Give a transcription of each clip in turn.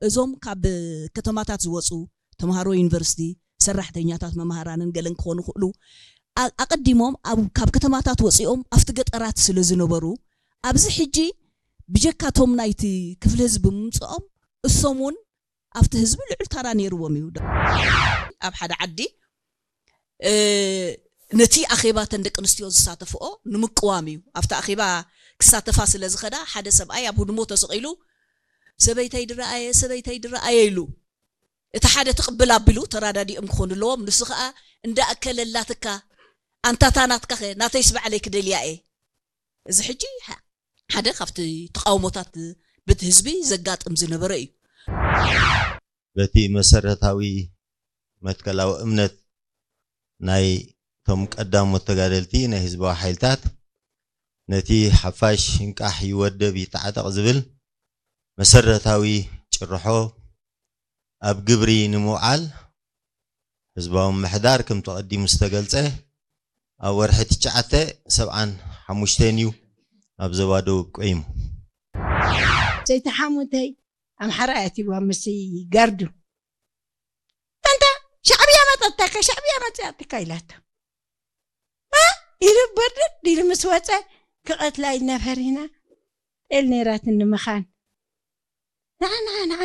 እዞም ካብ ከተማታት ዝወፁ ተምሃሮ ዩኒቨርሲቲ፣ ሰራሕተኛታት፣ መምሃራንን ገለን ክኾኑ ይኽእሉ። ኣ- ኣቐዲሞም ኣብ- ካብ ከተማታት ወፂኦም ኣብቲ ገጠራት ስለ ዝነበሩ፣ ኣብዚ ሕጂ ብጀካቶም ናይቲ ክፍሊ ህዝቢ ምምፅኦም፣ እሶም እውን ኣብቲ ህዝቢ ልዑል ታራ ነይርዎም እዩ። ኣብ ሓደ ዓዲ እ፣ ነቲ ኣኼባ ተን ደቂ ኣንስትዮ ዝሳተፍኦ ንምቅዋም እዩ። ኣብቲ ኣኼባ ክሳተፋ ስለ ዝኸዳ፣ ሓደ ሰብኣይ ኣብ ህድሞ ተሰቒሉ፣ "ሰበይተይ ድረኣየ፣ ሰበይተይ ድረኣየ" ኢሉ። እቲ ሓደ ትቕብል ኣቢሉ፣ ተራዳዲኦም ክኾኑ ኣለዎም። ንሱ ኸኣ፣ "እንዳ ኣከለላትካ፣ ኣንታታ ናትካኸ፣ ናተይስ ባዕለይ ክደልያ እየ?" እዚ ሕጂ ሓ- ሓደ ካብቲ ተቓውሞታት በቲ ህዝቢ ዘጋጥም ዝነበረ እዩ። በቲ መሰረታዊ መትከላዊ እምነት ናይ ቶም ቀዳሞት ተጋደልቲ ናይ ህዝባዊ ሓይልታት፣ ነቲ ሓፋሽ እንቃሕ ይወደብ ይተዓጠቕ ዝብል መሰረታዊ ጭርሖ ኣብ ግብሪ ንምውዓል፣ ህዝባዊ ምሕዳር ከምቲ ቀዲሙ ዝተገልጸ ኣብ ወርሒ ትሽዓተ ሰብዓን ሓሙሽተን እዩ ኣብ ዞባ ደቡብ ቆይሙ። ሰይቲ ሓሙተይ ኣምሓራ እያ ትብዋ ምስ ጋርዱ። ኣንታ ሻዕብያ መጸትካ፣ ሻዕብያ መጸትካ ኢላቶ። እ? ኢሉ በርድድ ኢሉ ምስ ወጸ፣ ክቐትላ ኢልና ፈሪህና። ጤል ነይራትኒ ምኻን። ንዓ፣ ንዓ፣ ንዓ።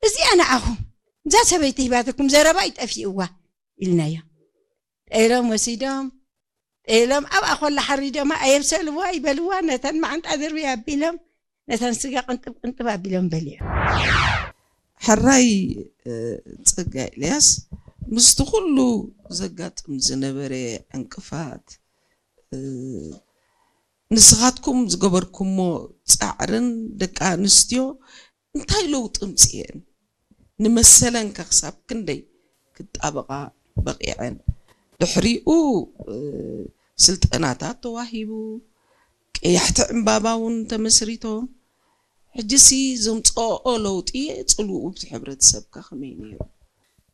እዚኣ ንዓኹም። እዛ ሰበይቲ ሂባትኩም፣ ዘረባ ይጠፊእዋ ኢልናዮ። ጤሎም ወሲዶም፣ ጤሎም ኣብኣ ኮላ ሓሪዶማ፣ ኣየብሰልዋ፣ ይበልዋ፣ ነተን መዓንጣ ድርቢ ኣቢሎም፣ ነተን ስጋ ቅንጥብ ቅንጥብ ኣቢሎም በሊዖም። ሕራይ እ፣ ጸጋ ኤልያስ፣ ምስቲ ኩሉ ዘጋጥም ዝነበረ ዕንቅፋት፣ እ፣ ንስኻትኩም ዝገበርኩሞ ጻዕርን ደቂ ኣንስትዮ እንታይ ለውጢ ኣምጽኤን? ንመሰለን ከ ክሳብ ክንደይ ክጣበቓ በቒዐን? ድሕሪኡ እ፣ ስልጠናታት ተዋሂቡ፣ ቀያሕቲ ዕምባባ እውን ተመስሪቶም። ሕጂሲ ዘምጽኦ ለውጢ ጽልውኡ ብቲ ሕብረተሰብካ ከመይ ነይሩ?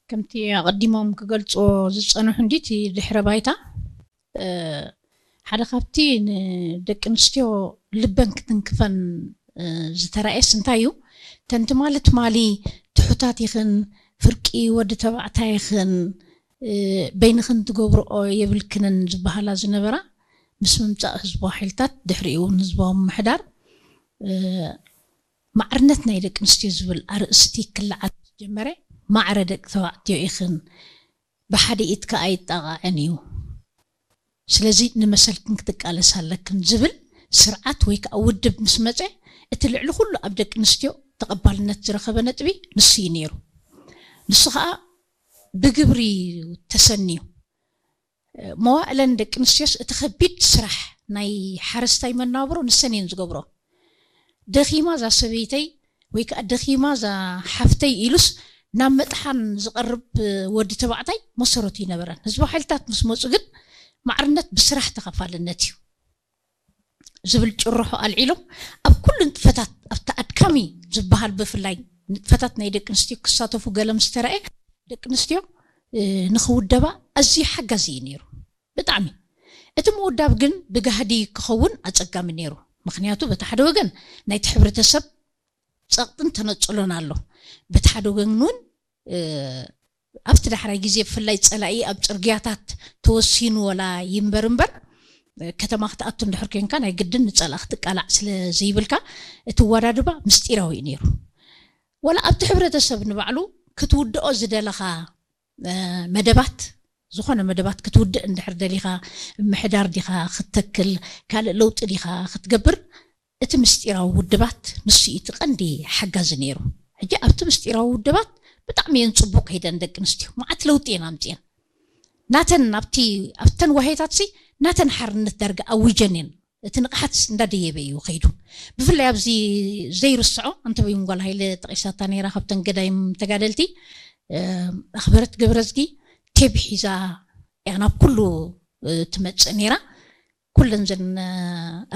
ከምቲ ኣቐዲሞም ክገልጽዎ ዝጸንሑ እንዲ እቲ ድሕረ ባይታ እ፣ ሓደ ካብቲ ንደቂ ኣንስትዮ ልበን ክትንክፈን እ፣ ዝተራእየስ እንታይ እዩ? ተን ትማሊ ትማሊ ትሑታት ኢኽን፣ ፍርቂ ወዲ ተባዕታይ ኢኽን፣ እ፣ በይንኽን ትገብርኦ የብልክንን ዝበሃላ ዝነበራ፣ ምስ ምምጻእ ህዝባዊ ሓይልታት፣ ድሕሪኡ እውን ህዝባዊ ምምሕዳር እ፣ ማዕርነት ናይ ደቂ ኣንስትዮ ዝብል ኣርእስቲ ክለዓል ዝጀመረ፣ ማዕረ ደቂ ተባዕትዮ ኢኽን፣ ብሓደ ኢድካ ኣይጣቓዕን እዩ፣ ስለዚ ንመሰልክን ክትቃለሳ ኣለክን ዝብል ስርዓት ወይ ከዓ ውድብ ምስ መፀ፣ እቲ ልዕሊ ኩሉ ኣብ ደቂ ኣንስትዮ ተቐባልነት ዝረኸበ ነጥቢ ንሱ እዩ ነይሩ። ንሱ ከዓ ብግብሪ ተሰንዩ። መዋእለን ደቂ ኣንስትዮስ እቲ ከቢድ ስራሕ ናይ ሓረስታይ መናብሮ ንሰን እየን ዝገብሮ። ደኺማ እዛ ሰበይተይ ወይ ከዓ ደኺማ እዛ ሓፍተይ ኢሉስ ናብ መጥሓን ዝቐርብ ወዲ ተባዕታይ መሰረቱ ይነበረን። ህዝባዊ ሓይልታት ምስ መፁ ግን ማዕርነት ብስራሕ ተኸፋልነት እዩ ዝብል ጭርሖ ኣልዒሎም ኣብ ኩሉ ንጥፈታት ኣብቲ ኣድካሚ ዝበሃል ብፍላይ ንጥፈታት ናይ ደቂ ኣንስትዮ ክሳተፉ ገለ ምስ ተረኣየ ደቂ ኣንስትዮ እ፣ ንኽውደባ ኣዝዩ ሓጋዚ እዩ ነይሩ። ብጣዕሚ። እቲ ምውዳብ ግን ብጋህዲ ክኸውን ኣጸጋሚ ነይሩ። ምኽንያቱ በቲ ሓደ ወገን ናይቲ ሕብረተሰብ ጸቕጥን ተነጽሎን ኣሎ። በቲ ሓደ ወገን እውን እ፣ ኣብቲ ዳሕራይ ግዜ ብፍላይ ጸላኢ ኣብ ጽርግያታት ተወሲኑ ወላ ይንበር እምበር እ፣ ከተማ ክትኣቱ እንድሕር ኮንካ ናይ ግድን ንጸላእ ክትቃላዕ ስለ ዘይብልካ እቲ ኣወዳድባ ምስጢራዊ እዩ ነይሩ። ወላ ኣብቲ ሕብረተሰብ ንባዕሉ ክትውድኦ ዝደለኻ እ፣ መደባት ዝኾነ መደባት ክትውድእ እንድሕር ደሊኻ ምሕዳር ዲኻ ክትተክል ካልእ ለውጢ ዲኻ ክትገብር እቲ ምስጢራዊ ውድባት ንሱ እዩ እቲ ቀንዲ ሓጋዚ ነይሩ። ሕጂ ኣብቲ ምስጢራዊ ውድባት ብጣዕሚ እየን ፅቡቅ ከይደን ደቂ ኣንስትዮ መዓት ለውጢ እየን ኣምፅኤን። ናተን ኣብቲ ኣብተን ዋሄታት ሲ ናተን ሓርነት ዳርጋ ኣዊጀን እየን። እቲ ንቕሓት እንዳደየበ እዩ ከይዱ። ብፍላይ ኣብዚ ዘይርስዖ ኣንተበይን ጓል ሃይለ ጠቂሳታ ነይራ ካብተን ገዳይም ተጋደልቲ እ፣ ኣኽበረት ገብረዝጊ ቴብ ሒዛ እያ ናብ ኩሉ እ፣ ትመፅእ ነይራ። ኩለን ዘን እ፣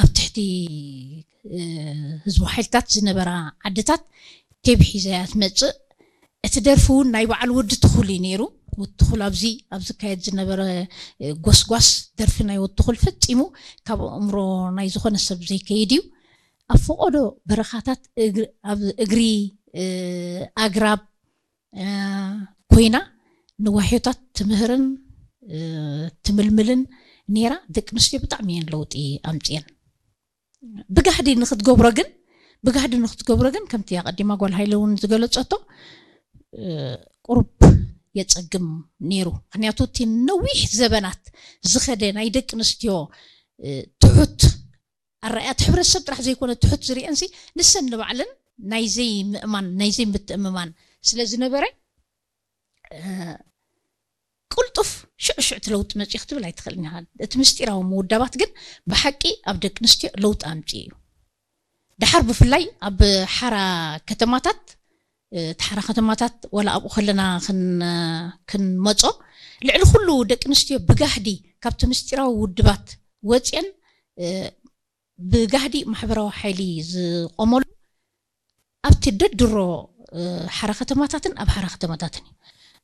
ኣብ ትሕቲ እ፣ ህዝቢ ሓይልታት ዝነበራ ዓድታት ቴብ ሒዛ እያ ትመፅእ። እቲ ደርፊ እውን ናይ በዓል ወዲ ትኹል እዩ ነይሩ። ወዲ ትኹል ኣብዚ ኣብ ዝካየድ ዝነበረ እ፣ ጎስጓስ ደርፊ ናይ ወዲ ትኹል ፈጺሙ ካብ ኣእምሮ ናይ ዝኾነ ሰብ ዘይከይድ እዩ። ኣብ ፈቐዶ በረኻታት እግሪ- ኣብ እግሪ ኣግራብ ኮይና ንዋሕዮታት ትምህርን ትምልምልን ነይራ። ደቂ ኣንስትዮ ብጣዕሚ እየን ለውጢ ኣምፅኤን። ብጋህዲ ንክትገብሮ ግን ብጋህዲ ንክትገብሮ ግን ከምቲ ኣቐዲማ ጓል ሃይለ እውን ዝገለፀቶ ቁሩብ የፀግም ነይሩ። ምክንያቱ እቲ ነዊሕ ዘበናት ዝኸደ ናይ ደቂ ኣንስትዮ ትሑት ኣረኣእያ እቲ ሕብረተሰብ ጥራሕ ዘይኮነ ትሑት ዝርእየንሲ ንሰን ንባዕለን ናይ ዘይምእማን ናይ ዘይምትእምማን ስለ ዝነበረ ቅልጡፍ ሽዑ ሽዑ እቲ ለውጢ መፅኡ ክትብል ኣይትኽእልን ኢኻ። እቲ ምስጢራዊ ምውዳባት ግን ብሓቂ ኣብ ደቂ ኣንስትዮ ለውጢ ኣምፅኡ እዩ። ድሓር ብፍላይ ኣብ ሓራ ከተማታት እቲ ሓራ ከተማታት ወላ ኣብኡ ከለና ክንመፆ ልዕሊ ኩሉ ደቂ ኣንስትዮ ብጋህዲ ካብቲ ምስጢራዊ ውድባት ወፅአን ብጋህዲ ማሕበራዊ ሓይሊ ዝቆመሉ ኣብቲ ደድሮ ሓራ ከተማታትን ኣብ ሓራ ከተማታትን እዩ።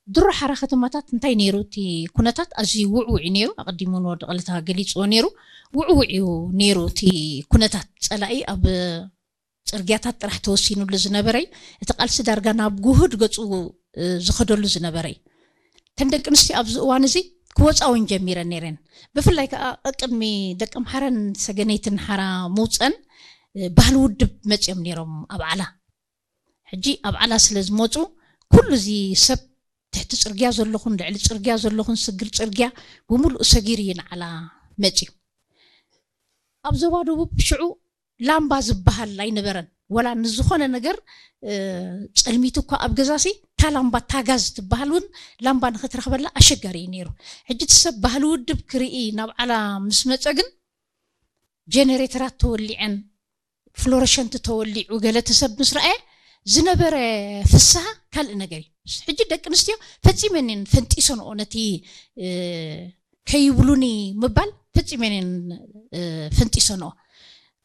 ድሮ ሓራ ከተማታት እንታይ ነይሩ? እቲ ኩነታት ኣዝዩ ውዕውዕ እዩ ነይሩ። ኣቐዲሙ ንወዲ ቀለታ ገሊፅዎ ነይሩ። ውዕውዕ እዩ ነይሩ እቲ ኩነታት። ፀላኢ ኣብ ፅርግያታት ጥራሕ ተወሲኑሉ ዝነበረ እዩ። እቲ ቃልሲ ዳርጋ ናብ ጉሁድ ገፁ ዝኸደሉ ዝነበረ እዩ። እተን ደቂ ኣንስትዮ ኣብዚ እዋን እዚ ክወፃ እውን ጀሚረን ነይረን። ብፍላይ ከዓ ቅድሚ ደቂ ኣምሓራን ሰገነይትን ሓራ ምውፀን ባህሊ ውድብ መፂኦም ነይሮም ኣብ ዓላ። ሕጂ ኣብ ዓላ ስለ ዝመፁ ኩሉ እዚ ሰብ ትሕቲ ፅርግያ ዘለኹን ልዕሊ ፅርግያ ዘለኹን ስግር ፅርግያ ብምሉእ ሰጊሩ እዩ ንዓላ መፂኡ። ኣብ ዞባ ደቡብ ሽዑ ላምባ ዝበሃል ኣይነበረን። ወላ ንዝኾነ ነገር ጸልሚቱ እኳ ኣብ ገዛሲ እታ ላምባ እታ ጋዝ ትበሃል እውን ላምባ ንክትረኽበላ ኣሸጋሪ እዩ ነይሩ። ሕጂ እቲ ሰብ ባህሊ ውድብ ክርኢ ናብ ዓላ ምስ መጸ ግን ጀነሬተራት ተወሊዐን ፍሎረሸንት ተወሊዑ ገለ እቲ ሰብ ምስ ረኣየ ዝነበረ ፍስሃ ካልእ ነገር እዩ። ሕጂ ደቂ ኣንስትዮ ፈጺመን እየን ፈንጢሰንኦ ነቲ ከይብሉኒ ምባል ፈጺመን እየን ፈንጢሰንኦ።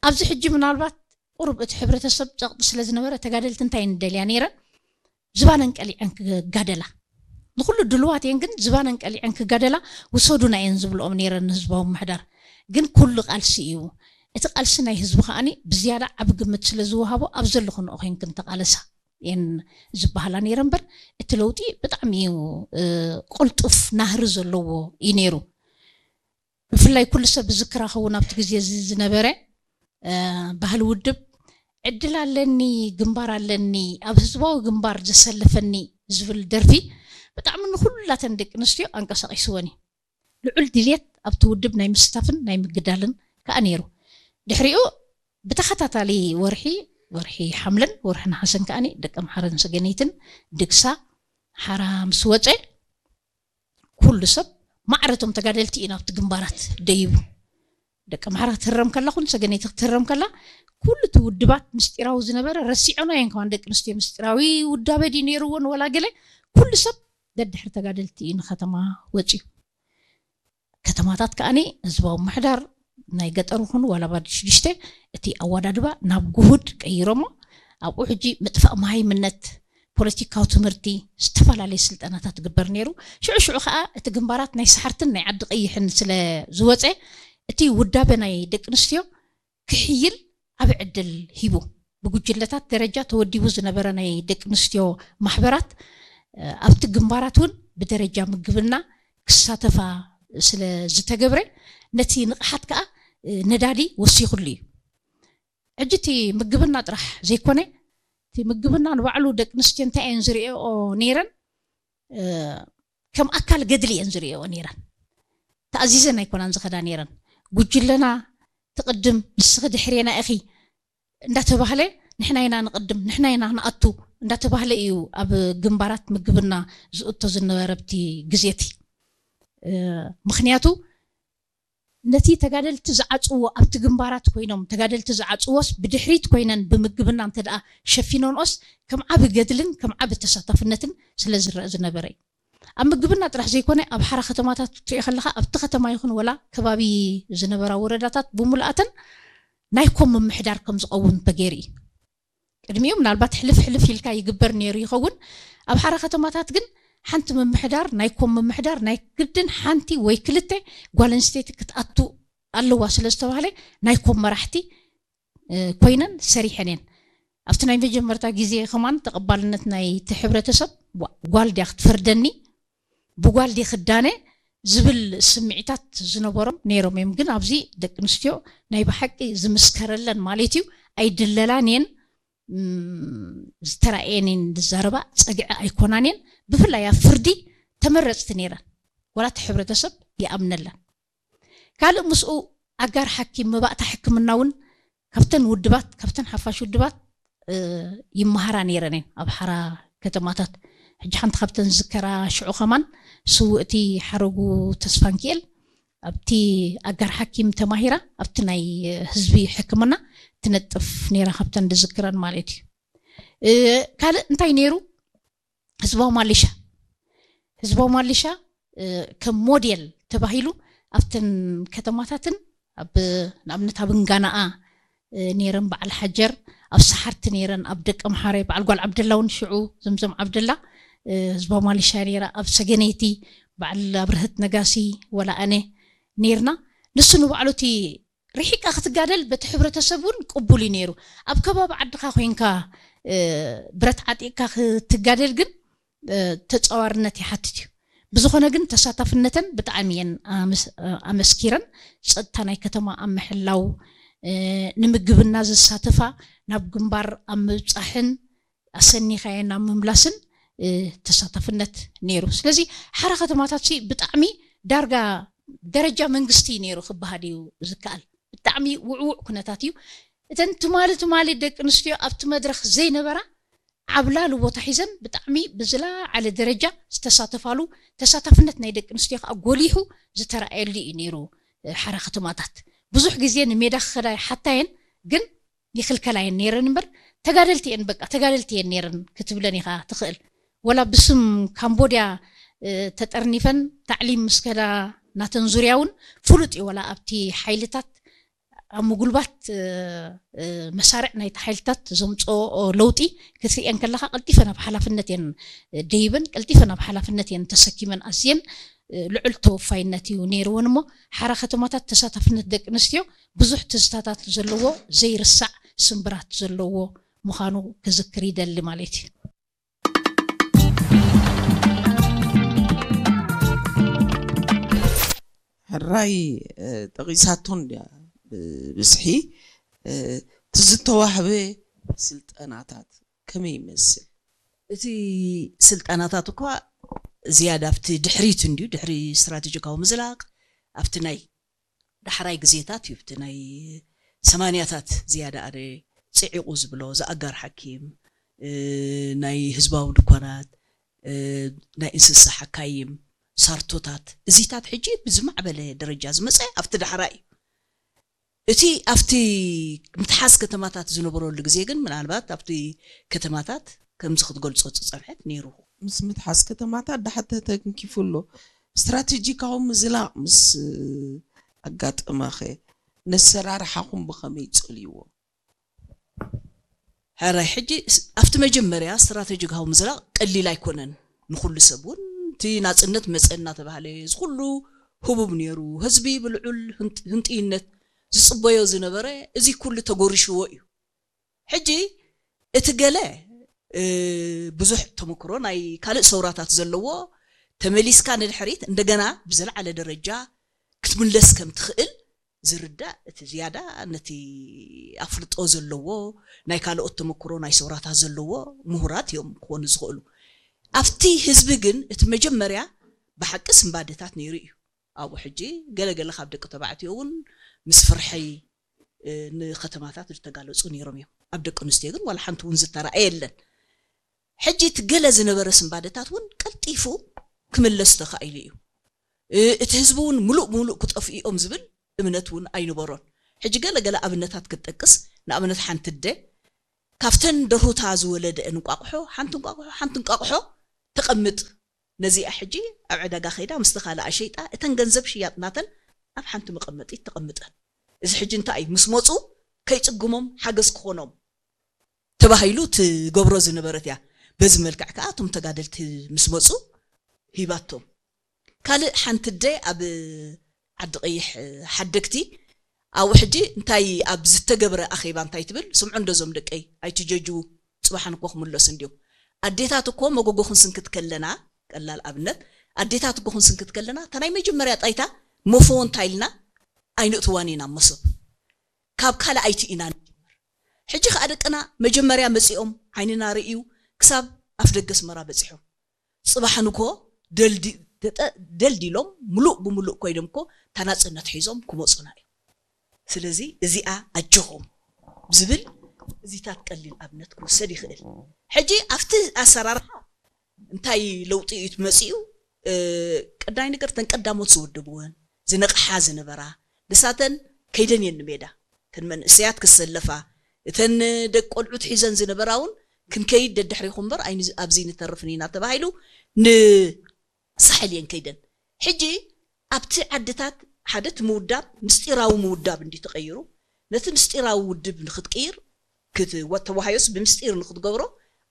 ኣብዚ ሕጂ ምናልባት ቁሩብ እቲ ሕብረተሰብ ጸቕጢ ስለ ዝነበረ ተጋደልቲ እንታይ እየን ደልያ ነይረን? ዝባነን ቀሊዐን ክጋደላ ንኩሉ ድልዋት እየን፣ ግን ዝባነን ቀሊዐን ክጋደላ ውሰዱና እየን ዝብልኦም ነይረን ንህዝባዊ ምሕዳር። ግን ኩሉ ቃልሲ እዩ። እቲ ቃልሲ ናይ ህዝቢ ከዓኒ ብዝያዳ ዓቢ ግምት ስለ ዝወሃቦ ኣብ ዘለኹንኦ ኮይንክን ተቓለሳ እየን ዝበሃላ ነይረ እምበር እቲ ለውጢ ብጣዕሚ እዩ ቅልጡፍ ናህሪ ዘለዎ እዩ ነይሩ። ብፍላይ ኩሉ ሰብ ዝዝክራ ኸውን ኣብቲ ግዜ እዚ ዝነበረ ባህሊ ውድብ ዕድል ኣለኒ ግንባር ኣለኒ ኣብ ህዝባዊ ግንባር ዘሰልፈኒ ዝብል ደርፊ ብጣዕሚ ንኩላተን ደቂ ኣንስትዮ ኣንቀሳቒስወን እዩ። ልዑል ድልየት ኣብቲ ውድብ ናይ ምስታፍን ናይ ምግዳልን ከዓ ነይሩ። ድሕሪኡ ብተኸታታሊ ወርሒ ወርሒ ሓምለን ወርሒ ነሓሰን ከዓኒ ደቂ ኣምሓረን ሰገነይትን ድግሳ ሓራ ምስ ወፀ ኩሉ ሰብ ማዕረቶም ተጋደልቲ እዩ ናብቲ ግንባራት ደይቡ። ደቂ ኣምሓራ ክትህረም ከላ ኩሉ ሰገነይቲ ክትህረም ከላ ኩሉ እቲ ውድባት ምስጢራዊ ዝነበረ ረሲዖኖ እየን ከማን ደቂ ኣንስትዮ ምስጢራዊ ውዳበ ድዩ ነይርዎን ወላ ገለ ኩሉ ሰብ ደድሕሪ ተጋደልቲ እዩ ንከተማ ወፅዩ። ከተማታት ከዓኒ ህዝባዊ ምሕዳር ናይ ገጠር ይኹን ዋላ ባዲ ሽዱሽተ እቲ ኣወዳድባ ናብ ጉሁድ ቀይሮሞ ኣብኡ ሕጂ ምጥፋእ መሃይምነት ፖለቲካዊ ትምህርቲ ዝተፈላለየ ስልጠናታት ትግበር ነይሩ። ሽዑ ሽዑ ከዓ እቲ ግንባራት ናይ ሰሓርትን ናይ ዓዲ ቀይሕን ስለ ዝወፀ እቲ ውዳበ ናይ ደቂ ኣንስትዮ ክሕይል ዓቢ ዕድል ሂቡ። ብጉጅለታት ደረጃ ተወዲቡ ዝነበረ ናይ ደቂ ኣንስትዮ ማሕበራት ኣብቲ ግንባራት እውን ብደረጃ ምግብና ክሳተፋ ስለ ዝተገብረ ነቲ ንቕሓት ከዓ ነዳዲ ወሲኹሉ እዩ። ሕጂ እቲ ምግብና ጥራሕ ዘይኮነ እቲ ምግብና ንባዕሉ ደቂ ኣንስትዮ እንታይ እየን ዝርእኦ ነይረን ከም ኣካል ገድሊ እየን ዝርእኦ ነይረን። ተኣዚዘን ኣይኮናን ዝኸዳ ነይረን። ጉጅለና ትቕድም ንስኺ ድሕሬና ኢኺ እንዳተባህለ ንሕና ኢና ንቕድም ንሕና ኢና ንኣቱ እንዳተባህለ እዩ ኣብ ግንባራት ምግብና ዝእቶ ዝነበረ ኣብቲ ግዜ እቲ። ምኽንያቱ ነቲ ተጋደልቲ ዝዓፅዎ ኣብቲ ግንባራት ኮይኖም ተጋደልቲ ዝዓፅዎስ ብድሕሪት ኮይነን ብምግብና እንተ ደኣ ሸፊኖንኦስ ከም ዓቢ ገድልን ከም ዓቢ ተሳታፍነትን ስለ ዝረአ ዝነበረ እዩ። ኣብ ምግብና ጥራሕ ዘይኮነ ኣብ ሓራ ከተማታት ክትሪኦ ከለኻ ኣብቲ ከተማ ይኹን ወላ ከባቢ ዝነበራ ወረዳታት ብምሉኣተን ናይ ኮም ምምሕዳር ከም ዝቐውም ተገይሩ እዩ። ቅድሚኡ ምናልባት ሕልፍ ሕልፍ ኢልካ ይግበር ነይሩ ይኸውን። ኣብ ሓራ ከተማታት ግን ሓንቲ ምምሕዳር ናይ ኮም ምምሕዳር ናይ ግድን ሓንቲ ወይ ክልተ ጓል ኣንስተይቲ ክትኣቱ ኣለዋ ስለ ዝተባህለ ናይ ኮም መራሕቲ ኮይነን ሰሪሐን እየን። ኣብቲ ናይ መጀመርታ ግዜ ከማን ተቐባልነት ናይቲ ሕብረተሰብ፣ "ዋ፣ ጓል ድያ ክትፈርደኒ? ብጓል ድየ ክዳነ?" ዝብል ስምዒታት ዝነበሮም ነይሮም እዮም። ግን ኣብዚ ደቂ ኣንስትዮ ናይ ብሓቂ ዝምስከረለን ማለት እዩ፣ ኣይድለላን እየን፣ እም፣ ዝተራእየን እየን ዝዛረባ፣ ጸግዒ ኣይኮናን እየን። ብፍላይ ኣብ ፍርዲ ተመረጽቲ ነይረን። ዋላ እቲ ሕብረተሰብ ይኣምነለን። ካልእ ምስኡ ኣጋር ሓኪም፣ መባእታ ሕክምና እውን ካብተን ውድባት፣ ካብተን ሓፋሽ ውድባት፣ እ፣ ይመሃራ ነይረን እየን ኣብ ሓራ ከተማታት። ሕጂ ሓንቲ ካብተን ዝዝከራ ሽዑ ከማን ስውእቲ ሓረጉ ተስፋንኪኤል ኣብቲ ኣጋር ሓኪም ተማሂራ ኣብቲ ናይ ህዝቢ ሕክምና ትነጥፍ ነይራ፣ ካብተን ዝዝክረን ማለት እዩ። እ፣ ካልእ እንታይ ነይሩ? ህዝባዊ ማሊሻ። ህዝባዊ ማሊሻ፣ እ፣ ከም ሞዴል ተባሂሉ ኣብተን ከተማታትን ኣብ፣ ንኣብነት ኣብ እንጋናኣ፣ እ፣ ነይረን፣ በዓል ሓጀር፣ ኣብ ሰሓርቲ ነይረን፣ ኣብ ደቀምሓረ በዓል ጓል ዓብደላ እውን ሽዑ ዘምዘም ዓብደላ፣ እ፣ ህዝባዊ ማሊሻ ነይራ፣ ኣብ ሰገነይቲ በዓል ኣብርህት ነጋሲ ወላ ኣነ ነይርና። ንሱ ንባዕሉ እቲ ርሒቃ ክትጋደል በቲ ሕብረተሰብ እውን ቅቡል እዩ ነይሩ። ኣብ ከባቢ ዓድኻ ኮይንካ፣ እ፣ ብረት ዓጢቕካ ክትጋደል ግን፣ እ፣ ተጻዋርነት ይሓትት እዩ። ብዝኾነ ግን ተሳታፍነተን ብጣዕሚ እየን ኣመስ-፣ ኣመስኪረን። ጸጥታ ናይ ከተማ ኣብ ምሕላው፣ እ፣ ንምግብና ዘሳትፋ፣ ናብ ግንባር ኣብ ምብጻሕን ኣሰኒኻየን ኣብ ምምላስን፣ እ፣ ተሳታፍነት ነይሩ። ስለዚ ሓራ ከተማታት ሲ ብጣዕሚ ዳርጋ ደረጃ መንግስቲ ነይሩ ክበሃል እዩ ዝከኣል። ብጣዕሚ ውዕዉዕ ኩነታት እዩ። እተን ትማሊ ትማሊ ደቂ ኣንስትዮ ኣብቲ መድረኽ ዘይነበራ፣ ዓብላሊ ቦታ ሒዘን ብጣዕሚ ብዝለዓለ ደረጃ ዝተሳተፋሉ፣ ተሳታፍነት ናይ ደቂ ኣንስትዮ ከዓ ጎሊሑ ዝተረኣየሉ እዩ ነይሩ። እ፣ ሓራ ከተማታት ብዙሕ ግዜ ንሜዳ ክኸዳ ይሓታ እየን፣ ግን ይኽልከላ እየን ነይረን እምበር፣ ተጋደልቲ እየን፣ በቃ ተጋደልቲ እየን ነይረን ክትብለን ኢኻ ትኽእል። ወላ ብስም ካምቦድያ፣ እ፣ ተጠርኒፈን ታዕሊም ምስ ከዳ ናተን ዙርያ እውን ፍሉጥ እዩ። ወላ ኣብቲ ሓይልታት ኣብ ምጉልባት፣ እ፣ እ፣ መሳርዕ ናይቲ ሓይልታት ዘምፅኦ ለውጢ ክትርእየን ከለኻ ቀልጢፈን ኣብ ሓላፍነት እየን ደይበን፣ ቀልጢፈን ኣብ ሓላፍነት እየን ተሰኪመን ኣዝየን፣ እ፣ ልዑል ተወፋይነት እዩ ነይርወን። እሞ ሓራ ከተማታት ተሳታፍነት ደቂ ኣንስትዮ ብዙሕ ትዝታታት ዘለዎ ዘይርሳዕ ስምብራት ዘለዎ ምዃኑ ክዝክር ይደሊ ማለት እዩ። ሕራይ፣ እ፣ ጠቒሳቶ እንድያ ብብዝሒ፣ እ፣ እቲ ዝተዋህበ ስልጠናታት ከመይ ይመስል? እቲ ስልጠናታት እኳ ዝያዳ ኣብቲ ድሕሪት እንድዩ፣ ድሕሪ ስትራቴጂካዊ ምዝላቕ፣ ኣብቲ ናይ ዳሕራይ ግዜታት እዩ፣ ኣብቲ ናይ ሰማንያታት ዝያዳ ኣነ ጽዒቑ ዝብሎ ዝኣጋር ሓኪም፣ እ፣ ናይ ህዝባዊ ድኳናት፣ እ፣ ናይ እንስሳ ሓካይም፣ ሳርቶታት፣ እዚታት ሕጂ ብዝማዕበለ ደረጃ ዝመጸ ኣብቲ ዳሕራይ እዩ። እቲ ኣብቲ ምትሓዝ ከተማታት ዝነበረሉ ግዜ ግን ምናልባት ኣብቲ ከተማታት ከምዚ ክትገልጾ ዝጸንሐት ነይሩ። ምስ ምትሓዝ ከተማታት ዳሓተ ተንኪፉ ኣሎ። ስትራቴጂካዊ ምዝላቕ ምስ ኣጋጠመኸ ነሰራርሓኹም ብኸመይ ጸልይዎ? ሕራይ ሕጂ ስ-፣ ኣብቲ መጀመርያ ስትራቴጂካዊ ምዝላቕ ቀሊል ኣይኮነን። ንኹሉ ሰብ እውን እቲ ናጽነት መጸ እናተባህለ እዚ ኩሉ ህቡብ ነይሩ። ህዝቢ ብልዑል ህንጥ-፣ ህንጥይነት ዝጽበዮ ዝነበረ እዚ ኩሉ ተጎሪሽዎ እዩ። ሕጂ እቲ ገለ፣ እ፣ ብዙሕ ተመክሮ ናይ ካልእ ሰውራታት ዘለዎ፣ ተመሊስካ ንድሕሪት እንደገና ብዝለዓለ ደረጃ ክትምለስ ከም ትኽእል ዝርዳእ፣ እቲ ዝያዳ ነቲ ኣፍልጦ ዘለዎ፣ ናይ ካልኦት ተመክሮ ናይ ሰውራታት ዘለዎ ምሁራት እዮም ክኾኑ ዝኽእሉ። ኣብቲ ህዝቢ ግን እቲ መጀመርያ ብሓቂ ስንባደታት ነይሩ እዩ። ኣብኡ ሕጂ ገለ ገለ ካብ ደቂ ተባዕትዮ እውን ምስ ፍርሒ፣ እ፣ ንከተማታት ዝተጋለጹ ነይሮም እዮም። ኣብ ደቂ ኣንስትዮ ግን ዋላ ሓንቲ እውን ዝተራእየ የለን። ሕጂ እቲ ገለ ዝነበረ ስንባደታት እውን ቀልጢፉ ክምለስ ተኻኢሉ እዩ። እ፣ እቲ ህዝቢ እውን ምሉእ ብምሉእ ክጠፍኡ እዮም ዝብል እምነት እውን ኣይነበሮን። ሕጂ ገለ ገለ ኣብነታት ክትጠቅስ፣ ንኣብነት ሓንቲ ኣደ ካብተን ደርሁታ ዝወለደአን እንቋቑሖ ሓንቲ እንቋቑሖ፣ ሓንቲ እንቋቑሖ ተቐምጥ። ነዚኣ ሕጂ ኣብ ዕዳጋ ከይዳ ምስቲ ካልኣ ሸይጣ እተን ገንዘብ ሽያጥ ናተን ኣብ ሓንቲ መቐመጢት ተቐምጠን። እዚ ሕጂ እንታይ እዩ? ምስ መፁ ከይፅግሞም ሓገዝ ክኾኖም ተባሂሉ ትገብሮ ዝነበረት እያ። በዚ መልክዕ ከዓ እቶም ተጋደልቲ ምስ መፁ ሂባቶም። ካልእ ሓንቲ ኣደ ኣብ ዓዲ ቀይሕ ሓደግቲ ኣብኡ ሕጂ እንታይ ኣብ ዝተገብረ ኣኼባ እንታይ ትብል? ስምዑ እንዶ እዞም ደቀይ፣ ኣይትጀጅዉ፣ ጽባሕ ንኮ ክምለሱ እንድዮም። ኣዴታት እኮ መጎጎ ክንስንክት ከለና፣ ቀላል ኣብነት፣ ኣዴታት እኮ ክንስንክት ከለና እታ ናይ መጀመርያ ጣይታ መፈወንታ ኢልና ኣይንእትዋን ኢና መሶብ። ካብ ካልኣይቲ ኢና ንጅምር። ሕጂ ከኣ ደቅና መጀመርያ መጺኦም ዓይንና ርእዩ ክሳብ ኣፍ ደገ ኣስመራ በጺሖም። ጽባሕ ንኮ ደልዲ-፣ ደጠ-፣ ደልዲሎም ምሉእ ብምሉእ ኮይኖም እኮ እታ ናጽነት ሒዞም ክመጹና እዮም። ስለዚ እዚኣ ኣጆኹም ዝብል እዚታት ቀሊል ኣብነት ክውሰድ ይኽእል። ሕጂ ኣብቲ ኣሰራርሓ እንታይ ለውጢ እዩ መጺኡ? እ፣ ቀዳይ ነገር እተን ቀዳሞት ዝወደብወን ዝነቕሓ ዝነበራ ንሳተን ከይደን እየን ንሜዳ። እተን መንእሰያት ክሰለፋ፣ እተን ደቂ ቆልዑት ሒዘን ዝነበራ እውን ክንከይድ ደድሕሪኹም እምበር ኣይን-፣ ኣብዚ ንተርፍን ኢና ተባሂሉ ንሳሕል እየን ከይደን። ሕጂ ኣብቲ ዓድታት ሓደ እቲ ምውዳብ ምስጢራዊ ምውዳብ እንዲ ተቐይሩ፣ ነቲ ምስጢራዊ ውድብ ንክትቅይር ክት-፣ ወ-፣ ተዋሃዮስ ብምስጢር ንክትገብሮ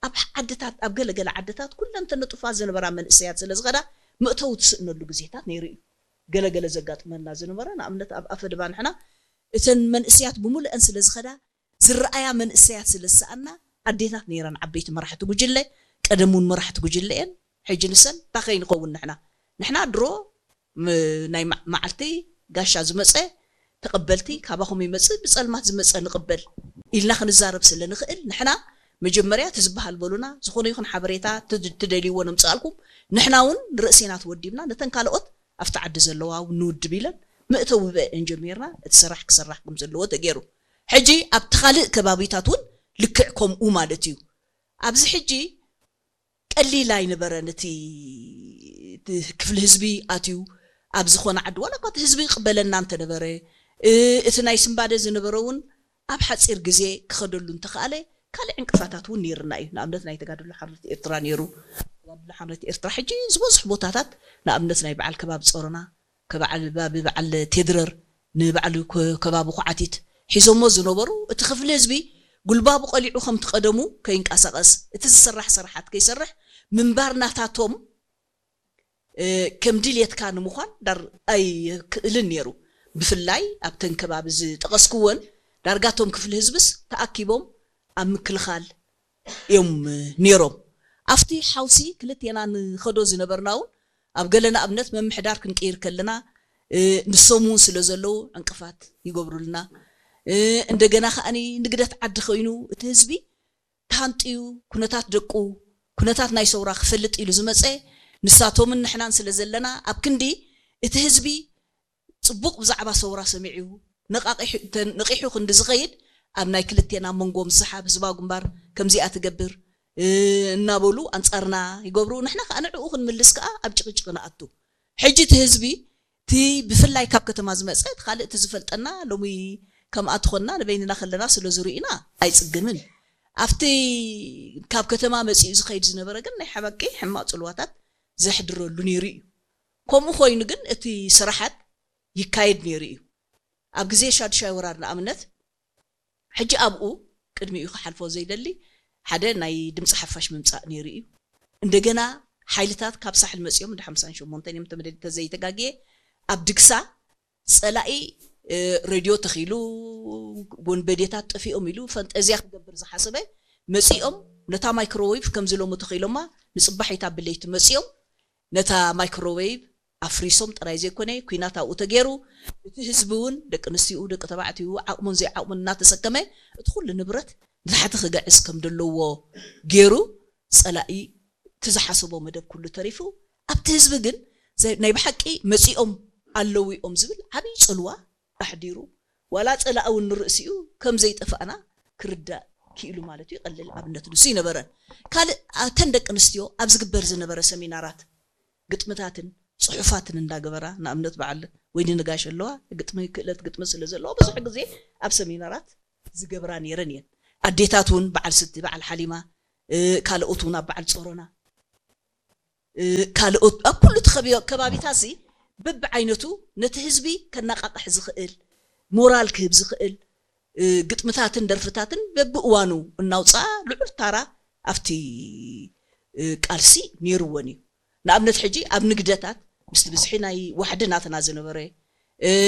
ኣብ ዓድታት፣ ኣብ ገለገለ ዓድታት ኩለን ተነጡፋ ዝነበራ መንእሰያት ስለ ዝኸዳ መእተዊ ትስእነሉ ግዜታት ነይሩ እዩ። ገለገለ ዘጋጥመና ዝነበረ ንኣብነት ኣብ ኣፈድባ ንሕና እተን መንእሰያት ብምሉአን ስለ ዝኸዳ ዝረኣያ መንእሰያት ስለ ዝሰኣና ኣዴታት ነይረን ዓበይቲ መራሕቲ ጉጅለ። ቀደም እውን መራሕቲ ጉጅለ እየን። ሕጂ ንሰን እንታይ ከይንኸውን ንሕና? ንሕና ድሮ ም-፣ ናይ መ-፣ መዓልቲ ጋሻ ዝመጸ ተቐበልቲ፣ ካባኹም ይመጽእ ብጸልማት ዝመጸ ንቕበል ኢልና ክንዛረብ ስለ ንኽእል ንሕና መጀመርያ እቲ ዝበሃል በሉና፣ ዝኾነ ይኹን ሓበሬታ ትድ-፣ ትደልይዎ ነምጽኣልኩም፣ ንሕና እውን ንርእስና ተወዲብና ነተን ካልኦት ኣብቲ ዓዲ ዘለዋ እውን ንውድብ ኢለን መእተዊ ብአን ጀሚርና እቲ ስራሕ ክስራሕ ከም ዘለዎ ተገይሩ። ሕጂ ኣብቲ ካልእ ከባቢታት እውን ልክዕ ከምኡ ማለት እዩ። ኣብዚ ሕጂ ቀሊል ኣይነበረን። እቲ፣ እቲ ክፍሊ ህዝቢ ኣትዩ ኣብ ዝኾነ ዓዲ፣ ዋላ እኳ እቲ ህዝቢ ይቕበለና እንተነበረ፣ እ፣ እቲ ናይ ስንባደ ዝነበረ እውን ኣብ ሓጺር ግዜ ክኸደሉ እንተኸኣለ፣ ካልእ ዕንቅፋታት እውን ነይርና እዩ። ንኣብነት ናይ ተጋድሎ ሓርነት ኤርትራ ነይሩ። ተጋድሎ ሓርነት ኤርትራ ሕጂ ዝበዝሑ ቦታታት፣ ንኣብነት ናይ በዓል ከባቢ ጾሮና፣ ከባቢ በዓል ቴድረር፣ ንባዕሉ ከ-፣ ከባቢ ኩዓቲት ሒዞሞ ዝነበሩ፣ እቲ ክፍሊ ህዝቢ ጉልባቡ ቀሊዑ ከምቲ ቀደሙ ከይንቀሳቐስ፣ እቲ ዝስራሕ ስራሓት ከይሰርሕ ምንባር ናታቶም፣ እ፣ ከም ድልየትካ ንምዃን ዳር ኣይክእልን ነይሩ። ብፍላይ ኣብተን ከባቢ ዝጠቐስክወን ዳርጋ እቶም ክፍሊ ህዝብስ ተኣኪቦም ኣብ ምክልኻል እዮም ነይሮም። ኣብቲ ሓውሲ ክልቴና ንኸዶ ዝነበርና እውን ኣብ ገለ ንኣብነት መምሕዳር ክንቅይር ከለና፣ እ፣ ንሶም እውን ስለ ዘለዉ ዕንቅፋት ይገብሩልና። እ፣ እንደገና ከኣኒ ንግደት ዓዲ ኮይኑ እቲ ህዝቢ ተሃንጥዩ ኩነታት ደቁ፣ ኩነታት ናይ ሰውራ ክፈልጥ ኢሉ ዝመጸ ንሳቶምን ንሕናን ስለ ዘለና ኣብ ክንዲ እቲ ህዝቢ ጽቡቕ ብዛዕባ ሰውራ ሰሚዑ ነቓቒሑ፣ ተ-፣ ነቒሑ ክንዲ ዝኸይድ ኣብ ናይ ክልቴና መንጎ ምስሓብ ህዝባዊ ግንባር ከምዚኣ ትገብር፣ እ፣ እናበሉ ኣንጻርና ይገብሩ። ንሕና ከኣ ንዕኡ ክንምልስ ከኣ ኣብ ጭቕጭቕ ንኣቱ። ሕጂ እቲ ህዝቢ እቲ ብፍላይ ካብ ከተማ ዝመጸ እቲ ካልእ እቲ ዝፈልጠና ሎሚ ከምኣ ትኾንና ንበይንና ከለና ስለ ዝርኢና ኣይጽግምን። ኣብቲ ካብ ከተማ መጺኡ ዝኸይድ ዝነበረ ግን ናይ ሓበቂ ሕማቕ ጽልዋታት ዘሕድረሉ ነይሩ እዩ። ከምኡ ኮይኑ ግን እቲ ስራሓት ይካየድ ነይሩ እዩ። ኣብ ግዜ ሻዱሻይ ወራር ንኣብነት፣ ሕጂ ኣብኡ ቅድሚኡ ክሓልፎ ዘይደሊ ሓደ ናይ ድምፂ ሓፋሽ ምምፃእ ነይሩ እዩ። እንደገና ሓይልታት ካብ ሳሕል መፂኦም እንደ ሓምሳን ሸሞንተን እዮም ተመደድ ተዘይተጋግየ ኣብ ድግሳ ፀላኢ፣ እ፣ ሬድዮ ተኺሉ ወንበዴታት ጠፊኦም ኢሉ ፈንጠዝያ ክገብር ዝሓሰበ መፂኦም ነታ ማይክሮዌቭ ከምዚ ሎሚ ተኺሎማ ንፅባሒታ ብለይቲ መፂኦም ነታ ማይክሮዌቭ ኣፍሪሶም ጥራይ ዘይኮነ፣ ኲናት ኣብኡ ተገይሩ፣ እቲ ህዝቢ እውን፣ ደቂ ኣንስትይኡ፣ ደቂ ተባዕትይኡ፣ ዓቕሙን ዘይዓቕሙን እናተሰከመ፣ እቲ ኩሉ ንብረት ንታሕቲ ክግዕዝ ከም ዘለዎ ገይሩ፣ ጸላኢ እቲ ዝሓሰቦ መደብ ኩሉ ተሪፉ፣ ኣብቲ ህዝቢ ግን ዘ-፣ ናይ ብሓቂ መጺኦም ኣለዉ እዮም ዝብል ዓብዪ ጽልዋ ኣሕዲሩ፣ ዋላ ጸላኢ እውን ንርእሲኡ ከም ዘይጠፋእና ክርዳእ ክኢሉ ማለት እዩ። ቀሊል ኣብነት ንሱ ይነበረን። ካልእ፣ እተን ደቂ ኣንስትዮ ኣብ ዝግበር ዝነበረ ሰሚናራት፣ ግጥምታትን ጽሑፋትን እንዳገበራ፣ ንኣብነት በዓል ወይኒ ነጋሽ ኣለዋ፣ ግጥሚ፣ ክእለት ግጥሚ ስለ ዘለዋ፣ ብዙሕ ግዜ ኣብ ሰሚናራት ዝገብራ ነይረን እየን። ኣዴታት እውን በዓል ስቲ፣ በዓል ሓሊማ፣ እ፣ ካልኦት እውን ኣብ በዓል ጾሮና፣ እ፣ ካልኦት ኣብ ኩሉ እቲ ከቢ-፣ ከባቢታት እዚ በብዓይነቱ ነቲ ህዝቢ ከነቃቕሕ ዝኽእል፣ ሞራል ክህብ ዝኽእል፣ እ፣ ግጥምታትን ደርፍታትን በብእዋኑ እናውፅኣ ልዑል ታራ ኣብቲ፣ እ፣ ቃልሲ ነይርወን እዩ። ንኣብነት ሕጂ ኣብ ንግደታት ምስቲ ብዝሒ ናይ ዋሕዲ ናትና ዝነበረ፣ እ፣